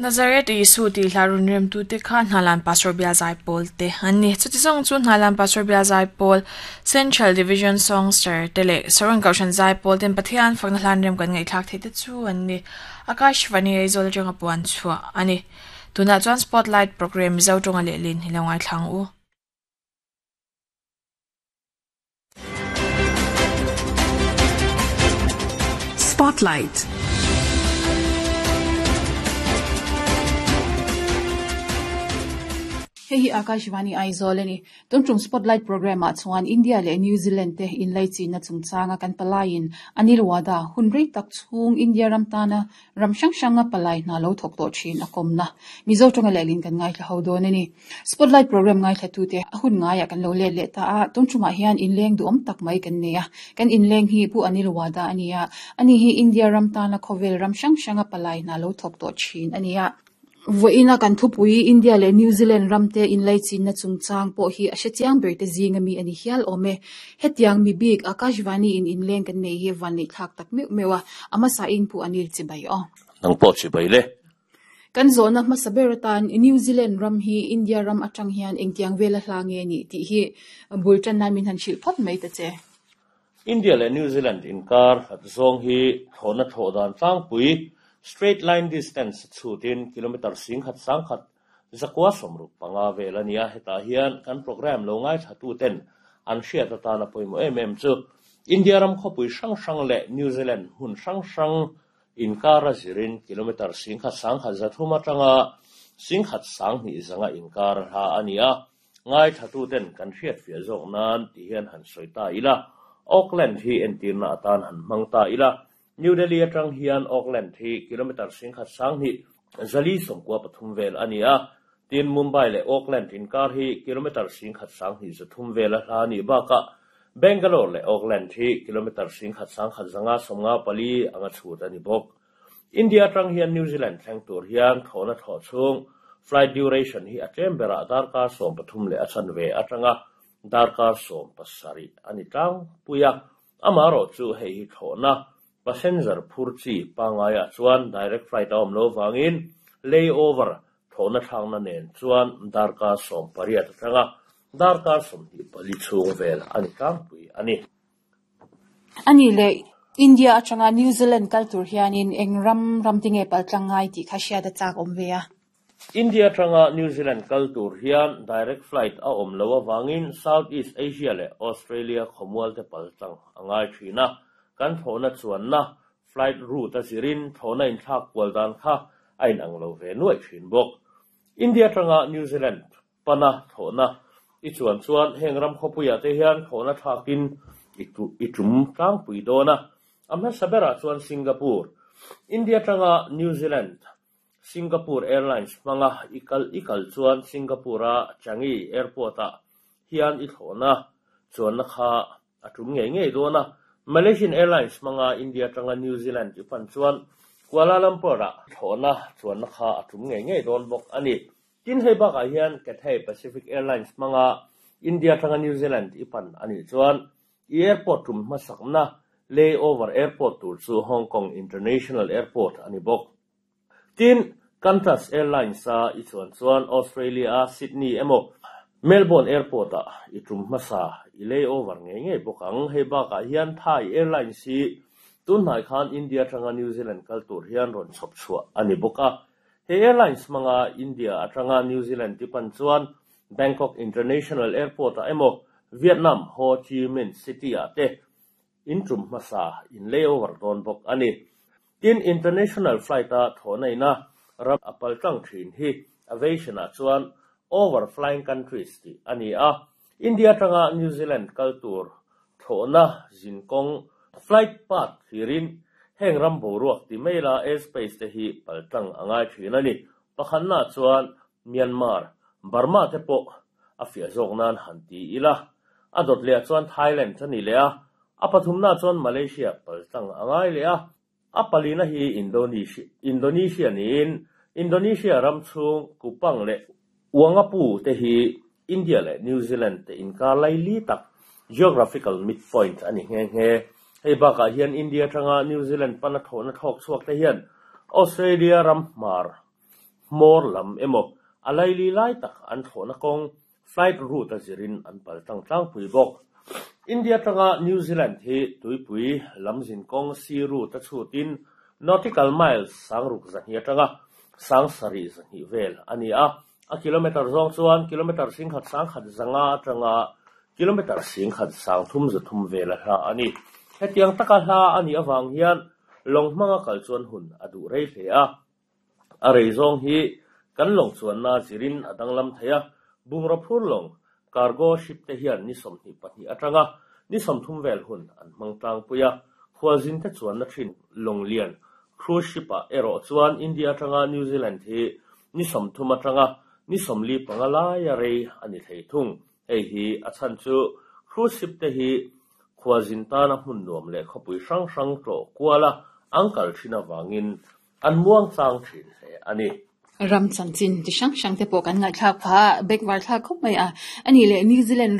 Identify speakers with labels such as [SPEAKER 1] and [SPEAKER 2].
[SPEAKER 1] Nazareth Isu tih hla rawn remtute kha Hnalan Pastor Bial Zaipawl te an ni. Chuti zawng chu Hnalan Pastor Bial Zaipawl, Central Division Songster te leh Saron Kohhran Zaipawl ten Pathian fakna hlan rem kan ngaihthlak theih te chu an ni. Akashvani Aizawl atanga puan chhuah a ni. Tunah chuan Spotlight Programme Mizo tawnga lehlin hi lo ngaithla ang u.
[SPEAKER 2] Spotlight.
[SPEAKER 3] Hei hi Akashvani Aizawl a ni. Tun tum Spotlight Programme ah chuan India leh New Zealand te inlaichinna chungchanga kan palaiin Anil Wada hun rei tak chhung India ram tana Ram hrang hranga palai hna lo thawk tawh thin a kawmna Mizo tawnga lehlin kan ngaithla ho dawn a ni. Spotlight programme ngaithlatute a hun ngaiah kan lo let leh ta a, tun tumah hian inleng duhawm tak mai kan nei a. Kan inleng hi Pu Anil Wada a ni a, ani hi India ram tana khawvel ram hrang hranga palai hna lo thawk tawh thin a ni a. Vawiina kan thupui India leh New Zealand ramte inlaichinna chungchang pawh hi a hrechiang berte zinga mi a ni hial awm e. Hetiang mi bik Akashvani in inleng kan nei hi vanneih thlak tak meuh meuh a, a hmasa in Pu Anil chibai aw.
[SPEAKER 4] Nang pawh chibai le.
[SPEAKER 3] Kan zawhna hmasa ber atan New Zealand ram hi India ram atang hian engtiang vela hla nge ni tih hi bul tan nan min han hrilh phawt mai ta che.
[SPEAKER 4] India leh New Zealand inkar hlat zawng hi thlawhna thlawh dan tlangpui, straight line distance, chhutin kilometre singkhat sangkhat zakua 65 vel a ni a, hetah hian kan programme lo ngaithlatuten an hriat atana pawimawh em em chu India ram khawpui hrang hrang leh New Zealand hmun hrang hrang inkar a zirin kilometre singkhat sangkhat 300 atanga singkhat 2000 zanga inkar hla a ni a. Ngaithlatuten kan hriatfiah zawk nan ti hian han sawi ta ila, Auckland hi entirna atan han hmang ta ila, New Delhi atang hian Auckland hi kilometre 1000 20 493 vel a ni a, tin Mumbai leh Auckland inkar hi kilometre 1000 23 vel a hla nih bakah Bangalore leh Auckland hi kilometre 1000 1154 anga chhut a ni bawk. India atang hian New Zealand thleng tur hian thlawhna thlawh chhung flight duration hi a tlem berah darkar 13 leh a chanve atanga darkar 17 a ni tlangpui a. Amaherawh chu hei hi thlawhna passenger phur chi pangaiah chuan direct flight a awm lo vangin layover thlawhna thlakna nen chuan darkar 18 atanga darkar 24 chhung vel a ni tlangpui a ni.
[SPEAKER 3] A nih leh India atanga New Zealand kal tur hianin eng ram ram te nge paltlang ngai tih kha hriat a chak awm ve a.
[SPEAKER 4] India atanga New Zealand kal tur hian direct flight a awm lo avangin South East Asia leh Australia khawmual te paltlang a ngai thin a, kan thlawhna chuanna flight route a zirin thlawhna inthlak kual dan kha a inang lo ve nuaih thin bawk. India atanga New Zealand Pana thlawhna i chuan chuan heng ram khawpuiah te hian thlawhna thlakin i tum tlangpui dawn a. A hmasa berah chuan Singapore, India atanga New Zealand, Singapore Airlines hmanga i kal i kal chuan Singapore-a Changi Airport-ah hian i thlawhna chuanna kha a tum ngei ngei dawn a. Malaysian Airlines hmanga India atanga New Zealand i pan chuan Kuala Lumpur-ah thlawhna chuanna kha a tum ngei ngei dawn bawk a ni. Tin hei bakah hian Cathay Pacific Airlines hmanga India atanga New Zealand i pan a nih chuan i airport tum hmasakna layover airport tur chu Hong Kong International Airport a ni bawk. Tin, Qantas Airlines-a i chuan chuan Australia-a Sydney emaw Melbourne Airport-ah i tum hmasa i layover ngei ngei bawk ang. Hei bakah hian Thai Airlines hi tunhnai khan India atanga New Zealand kal tur hian rawn chhawp chhuah a ni bawk a. He airlines hmanga India atanga New Zealand ti pan chuan Bangkok International Airport-ah emaw Vietnam Ho Chi Minh City-ah te in tum hmasa in layover dawn bawk a ni. Tin, international flight-a thawhna ina ram a pal tlang thin hi aviation-ah chuan overflying countries tih a ni a. India atanga New Zealand kal tur thlawhna zinkawng, flight path, thlirin heng ram boruak ti mai la airspace te hi paltlang a ngai thin a ni. Pakhatna chuan Myanmar, Burma te pawh a fiah zawk nan han ti ila. A dawt leh ah chuan Thailand a ni leh a, a pathumna chuan Malaysia paltlang a ngai leh a. A palina hi Indonesia niin Indonesia ram chhung Kupang leh Uangapu te hi India leh New Zealand te inkar laili tak geographical midpoint a ni nghe nghe. Hei bakah hian India atanga New Zealand pana thlawhna thlawk chhuak te hian Australia ram hmar. hmawr lam emaw a laili lai tak an thlawhna kawng, flight route, a zirin an pal tlang tlangpui bawk. India atanga New Zealand hi tuipui lam zin kawng, sea route, a chhutin nautical miles 6200 atanga 7300 vel a ni a, a kilometre zawng chuan kilometre 11,150 atanga kilometre 1330 vel a hla a ni. Hetiang taka hla a nih avang hian lawng hmanga kal chuan hun a duh rei hle a. A rei zawng hi kan lawng chuanna zirin a danglam thei a, bungraw phur lawng, cargo ship, te hian ni 22 atanga ni 30 vel hun an hmang tlangpui a, khualzin te chuanna thin lawng lian, cruise ship, ah erawh chuan India atanga New Zealand hi ni 30 atanga ni 45 laia rei a ni thei thung. Hei hi a chhan chu cruise ship te hi khualzin tana hmun nuam leh khawpui hrang hrang tlawh kuala an kal thin avangin an muang chang thin hle a ni.
[SPEAKER 3] Ram chanchin ti hrang hrang te pawh kan ngaihthlak phah a, bengvar thlak khawp mai a. A nih leh New Zealand.